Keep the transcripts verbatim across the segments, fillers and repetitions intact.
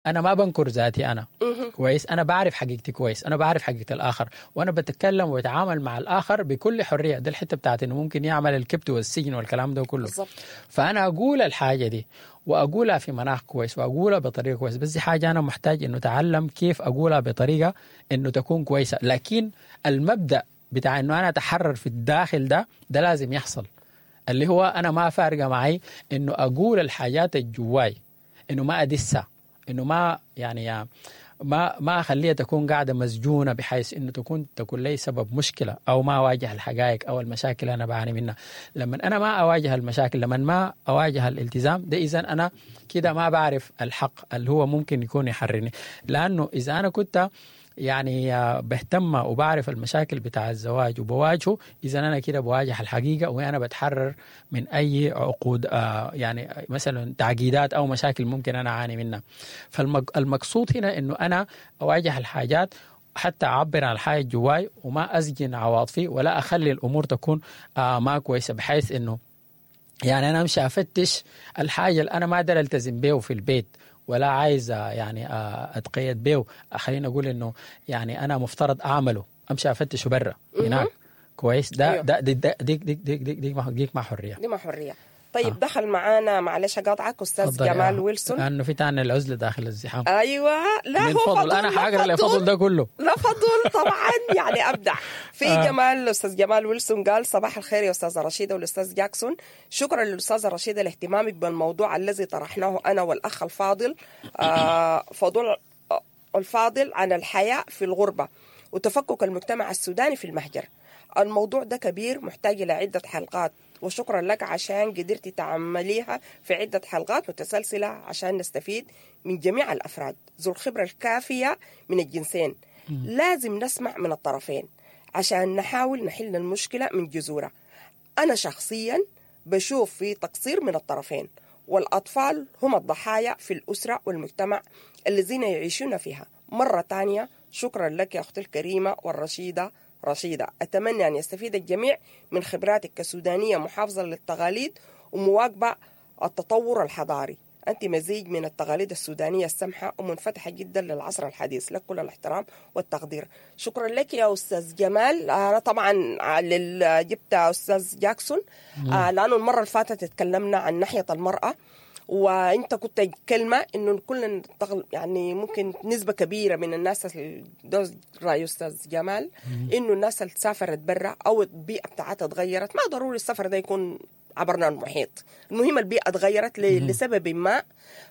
انا ما بنكر ذاتي انا كويس، انا بعرف حقيقتي كويس، انا بعرف حقيقة الاخر، وانا بتكلم وبتعامل مع الاخر بكل حرية. ده الحتة بتاعت انه ممكن يعمل الكبت والسجن والكلام ده كله. بالضبط. فانا اقول الحاجة دي واقولها في مناخ كويس واقولها بطريقة كويسة، بس دي حاجة انا محتاج انه اتعلم كيف اقولها بطريقة انه تكون كويسة. لكن المبدا بتاع انه انا اتحرر في الداخل ده ده لازم يحصل، اللي هو انا ما فارقه معي انه اقول الحاجات الجواي، انه ما ادسها، انه ما يعني ما ما اخليها تكون قاعدة مسجونه بحيث انه تكون تكون لي سبب مشكلة، او ما اواجه الحقائق او المشاكل اللي انا بعاني منها. لما انا ما اواجه المشاكل، لما ما اواجه الالتزام ده، اذا انا كده ما بعرف الحق اللي هو ممكن يكون يحررني. لانه اذا انا كنت يعني بهتم وبعرف المشاكل بتاع الزواج وبواجهه، اذا انا كده بواجه الحقيقة وانا بتحرر من اي عقود آه يعني مثلا تعقيدات او مشاكل ممكن انا اعاني منها. فالمقصود هنا انه انا اواجه الحاجات حتى اعبر عن الحاجة جواي، وما اسجن عواطفي ولا اخلي الامور تكون آه ما كويسة، بحيث انه يعني انا امشي افتش الحاجة اللي انا ما اقدر التزم بيه في البيت ولا عايز يعني اتقيد بيه، خلينا اقول انه يعني انا مفترض اعمله، امشي افتشه برا هناك كويس. ده أيوه. ده دي دي دي دي دي دي, دي, ما ديك ما حرية، دي ما حرية. طيب آه. دخل معانا، معلش اقاطعك، استاذ تفضل يا- جمال ويلسون. لانه في تاني العزلة داخل الزحام. ايوه، لا من هو فضل فضل، انا لا حاقرا فضل. لفضل ده كله. لا فضل طبعا يعني ابدع في آه. جمال. استاذ جمال ويلسون قال صباح الخير يا استاذه رشيده والاستاذ جاكسون، شكرا للاستاذه رشيده لاهتمامك بالموضوع الذي طرحناه انا والاخ الفاضل آه فضل آه، الفاضل عن الحياة في الغربة وتفكك المجتمع السوداني في المهجر. الموضوع ده كبير محتاج الى عده حلقات، وشكرا لك عشان قدرتي تعمليها في عدة حلقات متسلسلة عشان نستفيد من جميع الأفراد ذو الخبرة الكافية من الجنسين. لازم نسمع من الطرفين عشان نحاول نحل المشكلة من جذورها. أنا شخصيا بشوف في تقصير من الطرفين، والأطفال هم الضحايا في الأسرة والمجتمع الذين يعيشون فيها. مرة تانية شكرا لك يا أختي الكريمة والرشيدة رشيدة، أتمنى أن يستفيد الجميع من خبراتك كسودانية محافظة للتقاليد ومواكبة التطور الحضاري. أنت مزيج من التقاليد السودانية السمحة ومنفتحة جدا للعصر الحديث، لك كل الاحترام والتقدير. شكرا لك يا أستاذ جمال. أنا طبعا لل- جبت أستاذ جاكسون آه، لأنه المرة اللي فاتت اتكلمنا عن ناحية المرأة، وانت كنت كلمة انه كل تغل- يعني ممكن نسبه كبيرة من الناس ال- ده راي استاذ جمال، انه الناس اللي سافرت برا او البيئة بتاعتها اتغيرت، ما ضروري السفر ده يكون عبرنا المحيط، المهم البيئة اتغيرت ل- لسبب ما،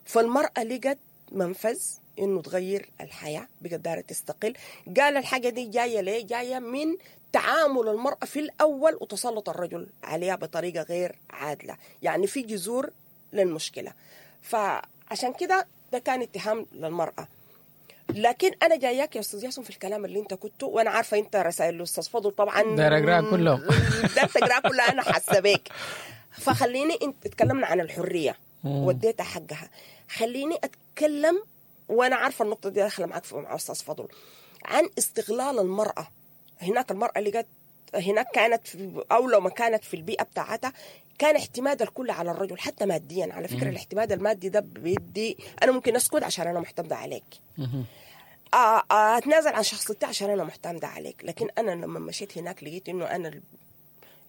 فالمراه لقت منفذ انه تغير الحياة، بقت دارة تستقل. قال الحاجة دي جاية ليه؟ جاية من تعامل المراة في الاول وتسلط الرجل عليها بطريقة غير عادلة، يعني في جذور للمشكلة. فعشان كده ده كان اتهام للمراة. لكن انا جاياك يا استاذ ياسم في الكلام اللي انت كنته، وانا عارفه انت رسائل الاستاذ فضل طبعا داير أقراها كلهم. داير تقراها كلها، انا حاسه بيك. فخليني، انت اتكلمنا عن الحرية واديتها حقها، خليني اتكلم، وانا عارفه النقطة دي داخله معاك في- مع استاذ فضل، عن استغلال المراة هناك. المراة اللي جت هناك كانت في، او لو ما كانت في البيئة بتاعتها، كان اعتماد الكل على الرجل حتى ماديا. على فكرة الاعتماد المادي ده بيدي انا ممكن اسكت عشان انا معتمدة عليك، آه، آه، اتنازل عن شخصيتي عشان انا معتمدة عليك. لكن انا لما مشيت هناك لقيت انه انا ال-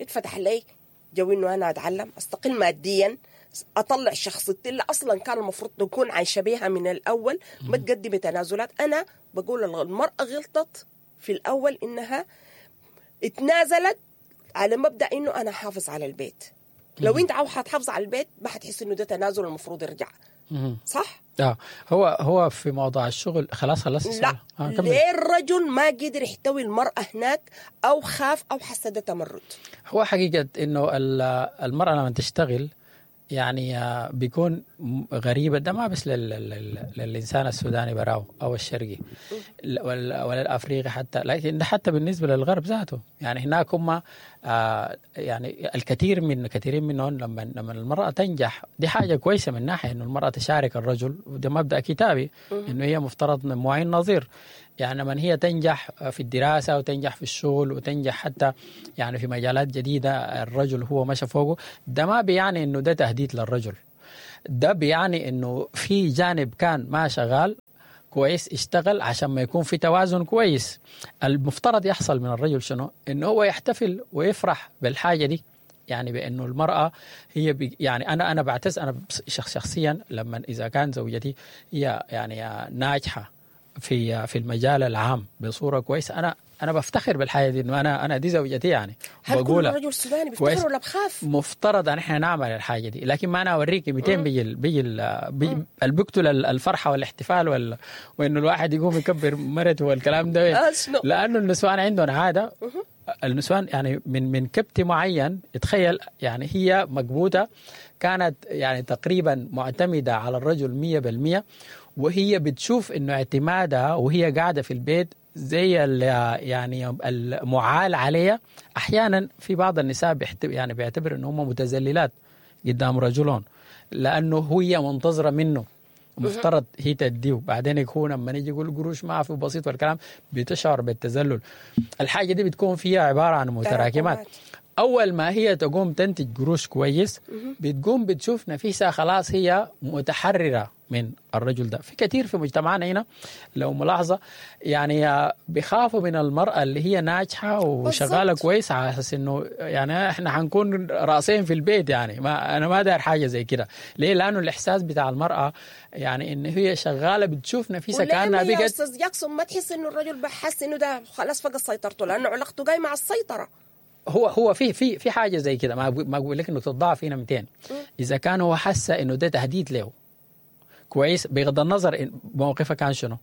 اتفتح لي جو انه انا اتعلم استقل ماديا، اطلع شخصيتي اللي اصلا كان المفروض تكون عايشه بيها من الاول، ما تقدمي تنازلات. انا بقول المراة غلطت في الاول انها اتنازلت على مبدا انه انا حافظ على البيت. لو انت عاوز حتحافظ على البيت ما حتحس انه ده تنازل المفروض يرجع، صح؟ اه هو هو في موضوع الشغل خلاص خلاص لا. آه كمل. ليه الرجل ما قدر يحتوي المرأة هناك أو خاف أو حس ده تمرد؟ هو حقيقة انه ال- المرأة لما تشتغل يعني آه، بيكون م- غريبة. ده ما بس لل لل للإنسان السوداني براو أو الشرقي ل- ولا ولا الأفريقي حتى، لكن ده حتى بالنسبة للغرب ذاته. يعني هناك هم آه، يعني الكثير من كثيرين منهم لما لما المرأة تنجح دي حاجة كويسة من ناحية إنه المرأة تشارك الرجل، وده مبدأ كتابي إنه هي مفترض من معين نظير. يعني لما هي تنجح في الدراسة وتنجح في الشغل وتنجح حتى يعني في مجالات جديدة الرجل هو مشى فوقه، ده ما بيعني إنه ده تهديد للرجل. ده بيعني انه في جانب كان ما شغال كويس اشتغل عشان ما يكون في توازن كويس. المفترض يحصل من الرجل شنو؟ انه هو يحتفل ويفرح بالحاجة دي، يعني بانه المراة هي بي يعني انا انا بعتز انا شخص شخصيا لما اذا كان زوجتي هي يعني ناجحة في في المجال العام بصورة كويسة، انا انا بفتخر بالحاجة دي، انه انا انا دي زوجتي يعني. هل كل رجل سوداني بيفتخر ولا بخاف؟ مفترض ان احنا نعمل الحاجة دي، لكن ما انا اوريك مئتين بيجي بيجي بيجي بيقتل الفرحة والاحتفال وال... وانه الواحد يقوم يكبر مرته والكلام ده، لانه النسوان عندهم عادة. النسوان يعني من من كبت معين، تخيل يعني هي مكبوته كانت يعني تقريبا معتمدة على الرجل مية بالمية، وهي بتشوف انه اعتمادها وهي قاعدة في البيت زي يعني المعال عليها. احيانا في بعض النساء يعني بيعتبر ان هم متذللات قدام رجلهم، لانه هي منتظره منه، مفترض هي تديه، بعدين يكون لما يجي يقول قروش ما في بسيط والكلام بتشعر بالتذلل. الحاجة دي بتكون فيها عبارة عن متراكمات. اول ما هي تقوم تنتج قروش كويس بتقوم بتشوف نفسها خلاص هي متحررة من الرجل ده. في كثير في مجتمعنا هنا لو ملاحظة يعني بيخافوا من المراة اللي هي ناجحة وشغالة كويس، على اساس انه يعني احنا حنكون راسين في البيت، يعني ما انا ما داير حاجة زي كده. ليه؟ لانه الاحساس بتاع المراة يعني ان هي شغالة بتشوف نفسها كانها بقت. يا استاذ جاكسون ما تحس انه الرجل بحس انه ده خلاص فقد سيطرته، لانه علاقته جاي مع السيطرة. هو هو في في في حاجة زي كده، ما ما اقول لك انه تضاعف فينا مئتين. اذا كان هو حس انه ده تهديد له كويس، بغض النظر موقفه كان شنو،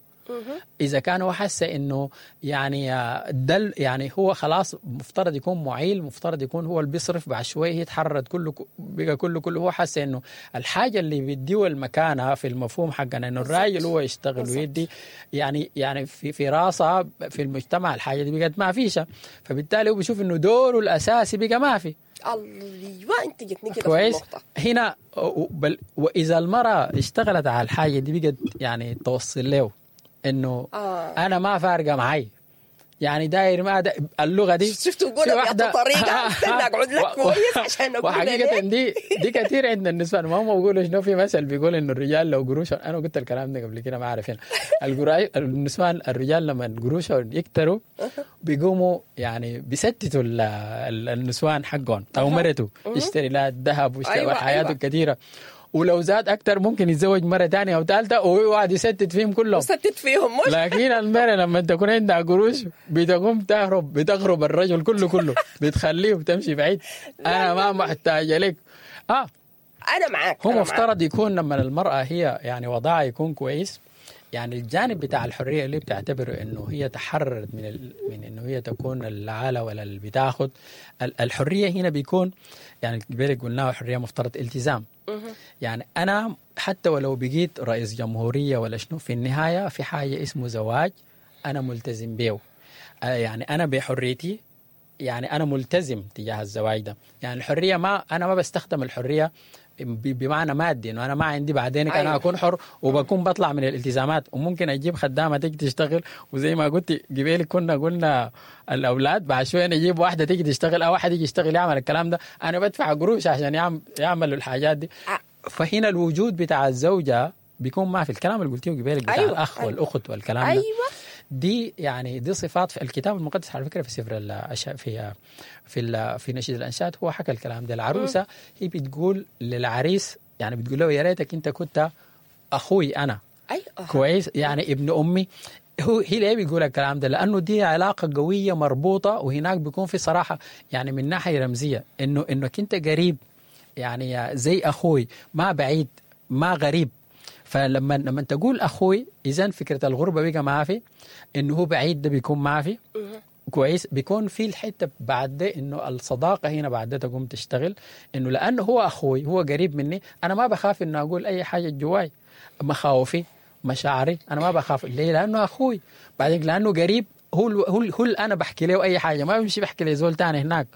اذا كان هو حس انه يعني دل يعني هو خلاص مفترض يكون معيل، مفترض يكون هو اللي بيصرف، بعد شوية هي تحررت كله بقى كله كله هو حس انه الحاجة اللي بيديه المكانة في المفهوم حقنا انه الراجل هو يشتغل ويدي يعني يعني في في راسه في المجتمع الحاجة دي بقت ما فيش، فبالتالي هو بيشوف انه دوره الاساسي بقى ما في. الله، انت جتني كده في النقطة هنا. بل واذا المراة اشتغلت على الحاجة دي بقت يعني توصل له انه آه. انا ما فارقه معي، يعني داير ما دا اللغة دي. شفتوا قولها بأي طريقه؟ استنى اقعد لك كويس عشان اقول وحقيقة دي دي كثير عندنا النسوان ما هم بيقولوا شنو، في مثل بيقول انه الرجال لو قروشهم، انا قلت الكلام ده قبل كده ما عارف هنا، النسوان الرجال لما قروشهم يكتروا بيقوموا يعني بيستتوا النسوان حقهم او مرته، يشتري لها الذهب ويشتري أيوة حياته أيوة. كثيرة، ولو زاد أكتر ممكن يتزوج مرة تانية أو ثالثة ويقعد يستت فيهم كلهم، يستت فيهم مش. لكن المرة لما تكون عندها قروش بتقوم تهرب، بتغرب الرجل كله كله، بتخليه وتمشي بعيد. أنا ما محتاجة لك. آه أنا معاك. هو مفترض يكون لما المرأة هي يعني وضعها يكون كويس، يعني الجانب بتاع الحرية اللي بتعتبره إنه هي تحررت من ال... من إنه هي تكون العالة ولا اللي بتاخد الحرية هنا بيكون يعني قبل قلناه حرية مفترض التزام. يعني أنا حتى ولو بقيت رئيس جمهورية ولا شنو، في النهاية في حاجة اسمه زواج أنا ملتزم بيه، يعني أنا بحريتي يعني أنا ملتزم تجاه الزواج ده. يعني الحرية ما أنا ما بستخدم الحرية بمعنى مادي انه انا ما عندي بعدين أيوة. انا اكون حر وبكون بطلع من الالتزامات، وممكن اجيب خدامه تيجي تشتغل، وزي ما قلت قبل كنا قلنا الاولاد بعد شوية نجيب واحدة تيجي تشتغل او واحد يجي يشتغل يعمل الكلام ده، انا بدفع قروش عشان يعمل يعمل الحاجات دي. فهنا الوجود بتاع الزوجة بيكون ما في الكلام اللي قلتيه قبل بتاع أيوة. الاخ أيوة. والاخت والكلام ده. أيوة. دي يعني دي صفات في الكتاب المقدس على فكرة، في سفر الأشياء في في في نشيد الانشاد هو حكى الكلام ده. العروسة هي بتقول للعريس يعني بتقول له يا ريتك انت كنت اخوي انا. أيوة. كويس، يعني ابن امي. هو هي ليه بيقول الكلام ده؟ لانه دي علاقة قوية مربوطة، وهناك بيكون في صراحة يعني من ناحية رمزية انه انك انت قريب يعني زي اخوي، ما بعيد ما غريب. فلما لما تقول اخوي اذا فكرة الغربة بقى ما في، انه هو بعيد ده بيكون ما في. كويس، بيكون في الحتة بعد ده انه الصداقة هنا بعد ده تقوم تشتغل، انه لانه هو اخوي هو قريب مني، انا ما بخاف انه اقول اي حاجة جواي، مخاوفي مشاعري انا ما بخاف. ليه؟ لانه اخوي. بعدين لانه قريب، هو هو هو انا بحكي له اي حاجة، ما بمشي بحكي لزول تاني هناك،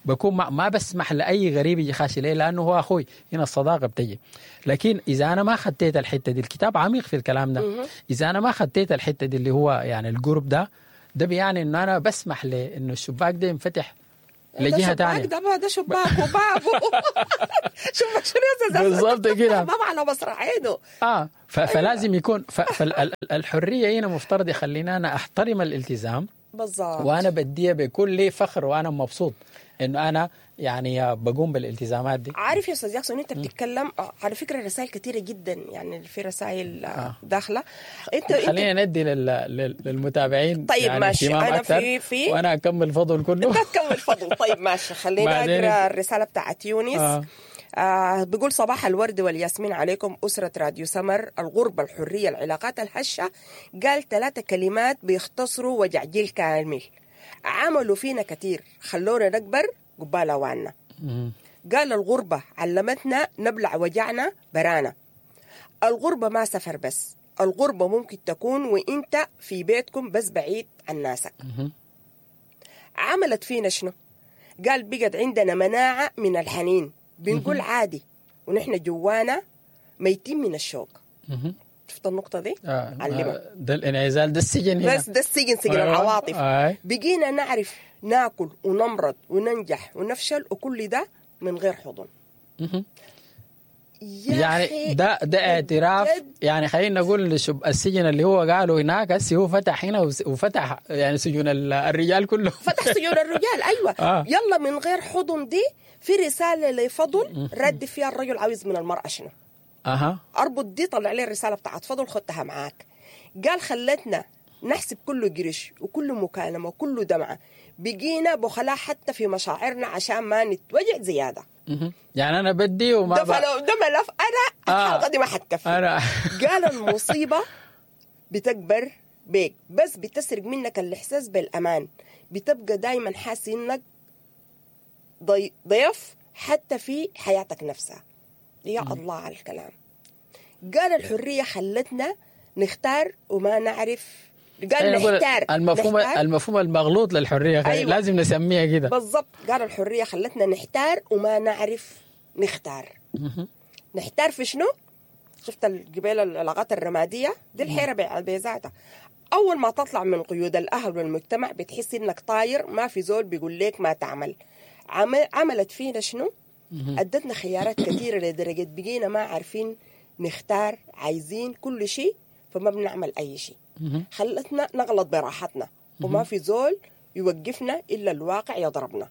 بكون ما, ما بسمح لأي غريب يجي خاشي. ليه؟ لأنه هو أخوي. هنا الصداقة بتجي. لكن إذا أنا ما خديت الحتة دي، الكتاب عميق في الكلام ده، إذا أنا ما خديت الحتة دي اللي هو يعني القرب ده، ده بيعني إنه أنا بسمح لإنه الشباك ده ينفتح لجهة ثانية. ده ده شباك وباب. شباك شنو يا استاذ؟ بالضبط كده، باب على مصراعينه. اه فلازم يكون، فالحريه هنا مفترض يخلينا انا احترم الالتزام بالضبط، وانا بديه بكل فخر وانا مبسوط انه انا يعني بقوم بالالتزامات دي. عارف يا استاذ جاكسون انت بتتكلم على فكرة رسائل كثيرة جدا، يعني في رسائل آه. داخله. انت خلينا ندي لل... للمتابعين. طيب يعني ماشي، انا أكتر. في في وانا اكمل فضل كله. انت تكمل فضل. طيب ماشي، خلينا اقرا الرسالة بتاعت يونس. آه. آه بيقول صباح الورد والياسمين عليكم أسرة راديو سمر. الغربة، الحرية، العلاقات الهشة. قال ثلاثة كلمات بيختصروا وجع جيل كامل، عملوا فينا كثير، خلونا نكبر قبال أواننا. قال الغربة علمتنا نبلع وجعنا برانا. الغربة ما سفر بس، الغربة ممكن تكون وإنت في بيتكم بس بعيد عن ناسك. عملت فينا شنو؟ قال بقت عندنا مناعة من الحنين، بنقول عادي ونحن جوانا ميتين من الشوق. شفت النقطة دي؟ آه علمها. ده الانعزال، ده السجن هنا. بس ده السجن، سجن آه العواطف. آه. بقينا نعرف ناكل ونمرض وننجح ونفشل، وكل ده من غير حضن. يعني ده ده اعتراف، يعني خلينا نقول السجن اللي هو قاله هناك هسه هو فتح هنا وفتح يعني سجون الرجال كله. فتح سجون الرجال، ايوه. آه. يلا من غير حضن دي في رسالة لفضل رد فيها الرجل عاوز من المراة شنو. اها، اربط دي، طلع لي الرسالة بتاعت فضل، خدتها معاك. قال خلتنا نحسب كل قرش وكل مكالمة وكل دمعه، بقينا بخلاء حتى في مشاعرنا عشان ما نتوجع زيادة. يعني انا بدي وما ده فلو ده ملف انا آه. الحلقة دي ما حتكفي. انا قال المصيبة بتكبر بيك، بس بتسرق منك الاحساس بالامان، بتبقى دايما حاسس انك ضي... ضيف حتى في حياتك نفسها. يا م. الله على الكلام. قال الحرية خلتنا نختار وما نعرف. قال نحتار، المفهوم نحتار. المفهوم المغلوط للحرية. أيوة. لازم نسميها كده بالضبط. قال الحرية خلتنا نحتار وما نعرف نختار. نحتار في شنو؟ شفت الجبال العلاقات الرمادية دي، الحيرة بذاتها. اول ما تطلع من قيود الاهل والمجتمع بتحس انك طاير، ما في زول بيقول لك ما تعمل. عملت فينا شنو؟ ادتنا خيارات كثيرة لدرجة بقينا ما عارفين نختار، عايزين كل شيء فما بنعمل اي شيء. خلتنا نغلط براحتنا وما في زول يوقفنا إلا الواقع يضربنا.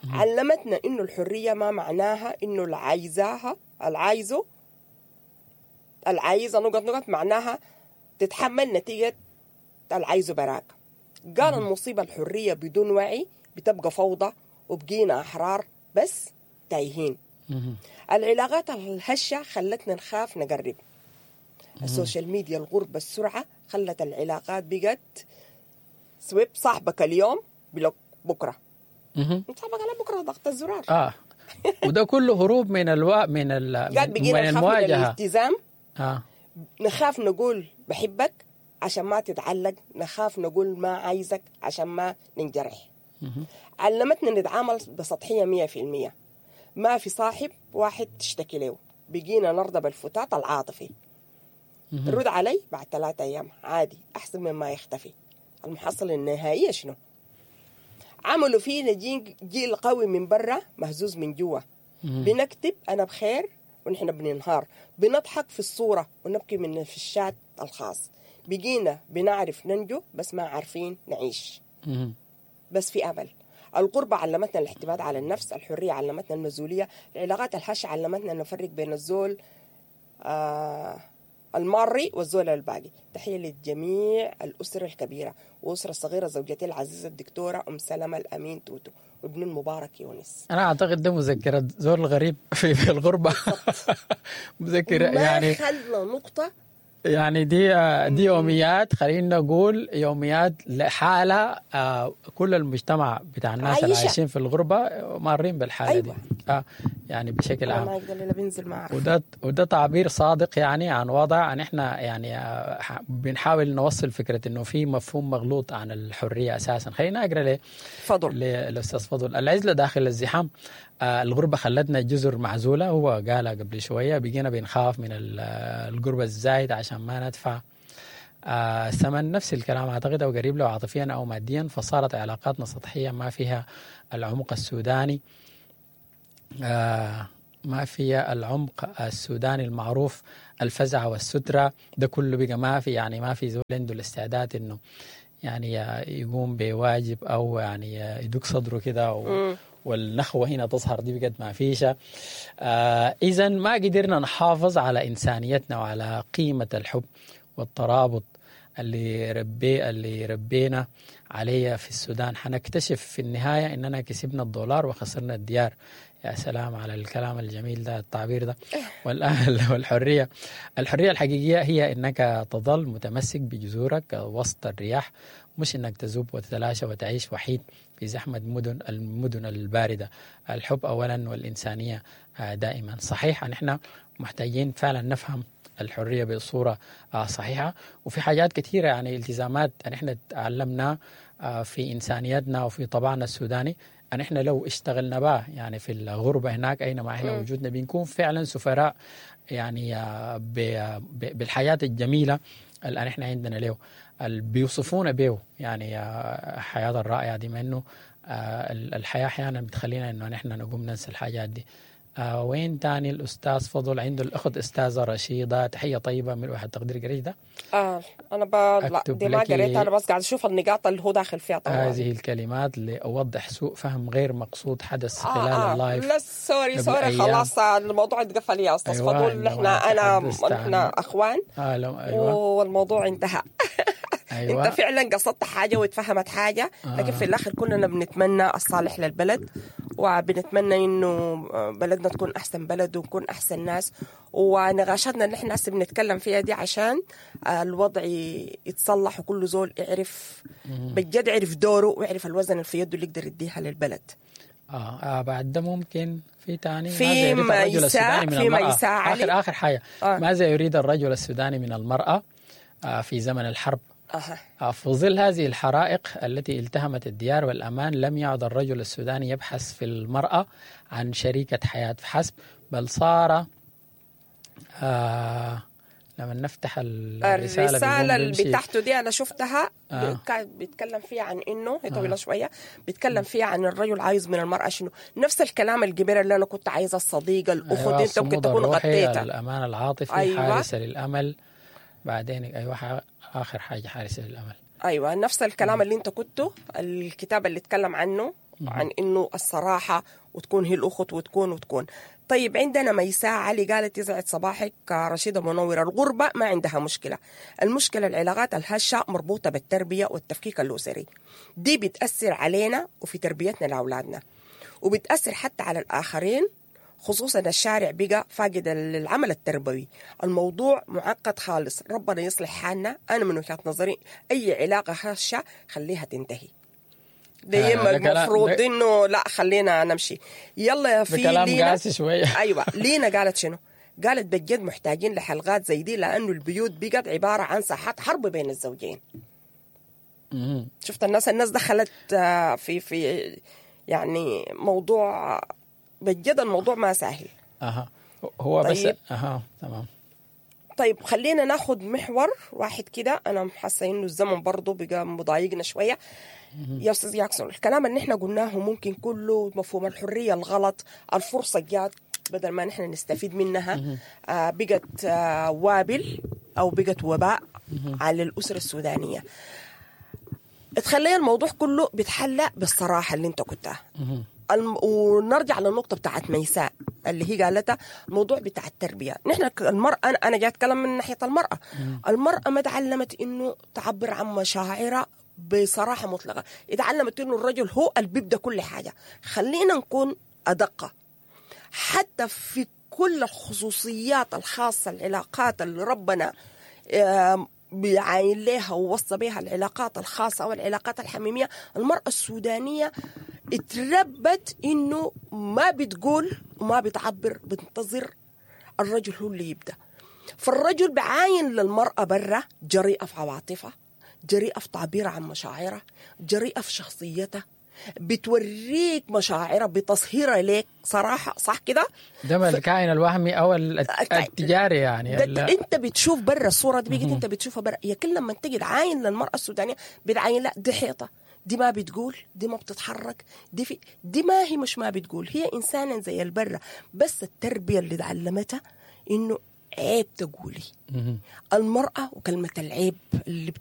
علمتنا إنه الحرية ما معناها إنه العايزاها العايزه العايزة نقط نقط، معناها تتحمل نتيجة العايزه براك. قال المصيبة الحرية بدون وعي بتبقى فوضى، وبقينا أحرار بس تايهين. العلاقات الهشة خلتنا نخاف نقرب. ال social media، الغربة، السرعة خلت العلاقات بقت swipe، صاحبك اليوم block بكرة، صاحبك على بكرة ضغط الزرار. اه وده كله هروب من الوا من ال من المواجهة، من الالتزام. آه. نخاف نقول بحبك عشان ما تتعلق، نخاف نقول ما عايزك عشان ما ننجرح. علمتنا نتعامل بسطحية مية في المية، ما في صاحب واحد تشتكي له، بقينا نرضى بالفتات العاطفي. رد علي بعد ثلاثة أيام عادي، أحسن مما يختفي. المحصلة النهائية شنو؟ عملوا فينا جيل قوي من برا مهزوز من جوا. بنكتب أنا بخير ونحن بننهار، بنضحك في الصورة ونبكي من في الشات الخاص. بقينا بنعرف ننجو بس ما عارفين نعيش. بس في أمل. الغربة علمتنا الاعتماد على النفس، الحرية علمتنا المسؤولية، العلاقات الهشة علمتنا نفرق بين الزول آه الماري والزول الباقي. تحية للجميع، الأسرة الكبيرة وأسرة الصغيرة، زوجتي العزيزة الدكتورة أم سلمة الأمين توتو وابن المبارك يونس. أنا أعتقد ده مذكرة زول غريب في, في الغربة. مذكرة يعني خلنا نقطة، يعني دي دي يوميات، خلينا نقول يوميات لحالة كل المجتمع بتاع الناس اللي عايشين في الغربة مارين بالحالة. أيوة. دي آه يعني بشكل عام. ما يقدر بينزل معه. وده وده تعبير صادق يعني عن وضع عن احنا يعني بنحاول نوصل فكرة انه في مفهوم مغلوط عن الحرية اساسا. خلينا اقرا ل فضل للاستاذ فضل. العزلة داخل الزحام، آه الغربة خلتنا جزر معزولة، هو قالها قبل شوية، بقينا بنخاف من القربة الزايد عشان ما ندفع آه ثمن نفس الكلام اعتقد او قريب له عاطفيا او ماديا، فصارت علاقاتنا سطحية ما فيها العمق السوداني، آه ما فيها العمق السوداني المعروف، الفزع والسترة ده كله بقى ما في، يعني ما في زول عنده الاستعداد انه يعني يقوم بواجب او يعني يدق صدره كده و والنخوة هنا تظهر، دي بقت ما فيشة. آه إذا ما قدرنا نحافظ على إنسانيتنا وعلى قيمة الحب والترابط اللي ربي اللي ربينا عليه في السودان، حنكتشف في النهاية إننا كسبنا الدولار وخسرنا الديار. يا سلام على الكلام الجميل ده، التعبير ده. والأهل والحرية، الحرية الحقيقية هي إنك تظل متمسك بجذورك وسط الرياح، مش إنك تذوب وتتلاشى وتعيش وحيد في زحمة مدن المدن الباردة. الحب أولا والإنسانية دائما. صحيح أن إحنا محتاجين فعلا نفهم الحرية بصورة صحيحة، وفي حاجات كثيرة يعني التزامات أن إحنا تعلمنا في إنسانيتنا وفي طبعنا السوداني، أن إحنا لو اشتغلنا بها يعني في الغربة هناك أينما إحنا وجودنا بنكون فعلا سفراء يعني بالحياة الجميلة اللي إحنا عندنا له، اللي بيوصفونا به يعني الحياة الرائعة دي، ما إنه الحياة أحيانا بتخلينا إنه نحن نقوم ننسى الحاجات دي. آه وين تاني الأستاذ فضل عنده الأخت أستاذة رشيدة، تحية طيبة من واحد تقدير قريت ده. آه أنا ب... لا دي ما قريتها، أنا بس قاعد أشوف النقاط اللي هو داخل فيها طبعا. هذه الكلمات لأوضح سوء فهم غير مقصود حدث آه خلال آه ال live. لا sorry sorry خلاص الموضوع اتقفل يا أستاذ أيوة فضل، إحنا أنا إحنا أخوان آه لو أيوة والموضوع انتهى. أيوة. انت فعلا قصدت حاجة واتفهمت حاجة، لكن في الاخر كلنا بنتمنى الصالح للبلد، وبنتمنى انه بلدنا تكون احسن بلد ونكون احسن ناس، ونقاشاتنا اللي احنا هسه بنتكلم فيها دي عشان الوضع يتصلح وكل زول يعرف بجد يعرف دوره ويعرف الوزن اللي في يده اللي يقدر يديها للبلد. آه, اه بعد ده ممكن في تاني في ماذا يريد الرجل السوداني من في المرأة؟ ميساء آخر آخر حاجة آه. ماذا يريد الرجل السوداني من المرأة آه في زمن الحرب؟ أه. في ظل هذه الحرائق التي التهمت الديار والأمان، لم يعد الرجل السوداني يبحث في المرأة عن شريكة حياة فحسب، بل صار آه لما نفتح الرسالة, الرسالة اللي بتاعته دي أنا شفتها آه. كان بيتكلم فيها عن إنه هي طويلة آه. شوية، بيتكلم فيها عن الرجل عايز من المرأة شنو، نفس الكلام الجبير اللي أنا كنت عايزة، الصديقة، الأخت، أيوة أنت ممكن تكون غطيتها، الأمان العاطفي، أيوة. حارسة للأمل، بعدين أيوة آخر حاجة حارسة للأمل. أيوة نفس الكلام اللي أنت كنته، الكتاب اللي اتكلم عنه عن إنه الصراحة وتكون هي الأخت وتكون وتكون. طيب عندنا ميساء علي قالت يسعد صباحك رشيدة منورة، الغربة ما عندها مشكلة، المشكلة العلاقات الهشة مربوطة بالتربية والتفكيك الأسري، دي بتأثر علينا وفي تربيتنا لأولادنا، وبتأثر حتى على الآخرين، خصوصا الشارع بقى فاقد العمل التربوي. الموضوع معقد خالص، ربنا يصلح حالنا. أنا من وجهة نظري أي علاقة هشة خليها تنتهي، دي آه المفروض إنه لا خلينا نمشي. يلا يا في بكلام لينا قاسي شوية. أيوة لينا قالت شنو؟ قالت بجد محتاجين لحلقات زي دي، لأنه البيوت بقت عبارة عن ساحات حرب بين الزوجين. شفت الناس الناس دخلت في في يعني موضوع بجد الموضوع ما سهل. اها هو طيب. بس اها تمام. طيب خلينا ناخد محور واحد كده، انا حاسه انه الزمن برضه بقى مضايقنا شوية. يا استاذ جاكسون، الكلام اللي احنا قلناه ممكن كله مفهوم الحرية الغلط، الفرصة جات بدل ما نحن نستفيد منها آه بقت آه وابل او بقت وباء على الاسرة السودانية. تخلي الموضوع كله بيتحلى بالصراحه اللي انت كنتها. الم... ونرجع للنقطة بتاعت ميساء اللي هي قالتها، الموضوع بتاع التربية. نحن المرأة، أنا أنا جاي أتكلم من ناحية المرأة. المرأة ما تعلمت إنه تعبر عن مشاعرها بصراحة مطلقة، اتعلمت إنه الرجل هو اللي بيبدأ كل حاجة. خلينا نكون أدق حتى في كل الخصوصيات الخاصة، العلاقات اللي ربنا بيعاين لها ووصى بها، العلاقات الخاصة والعلاقات الحميمية. المرأة السودانية اتربت إنه ما بتقول وما بتعبر، بتنتظر الرجل هو اللي يبدأ. فالرجل بعاين للمرأة برا جريئة في عواطفها، جريئة في تعبيرها عن مشاعرها، جريئة في شخصيتها، بتوريك مشاعرها، بتصهيرها ليك صراحة، صح كده؟ ده ما الكائن الوهمي او ال- التجاري يعني ده ال- انت بتشوف برا الصورة دي بقيت انت بتشوفها برا. يا كل لما تجي تعاين للمراة السودانية بتعاين لا دي حيطة، دي ما بتقول، دي ما بتتحرك، دي في دي ما هي مش ما بتقول، هي انسانه زي البرة، بس التربية اللي تعلمتها انه عيب تقولي. مهم. المراة وكلمه العيب اللي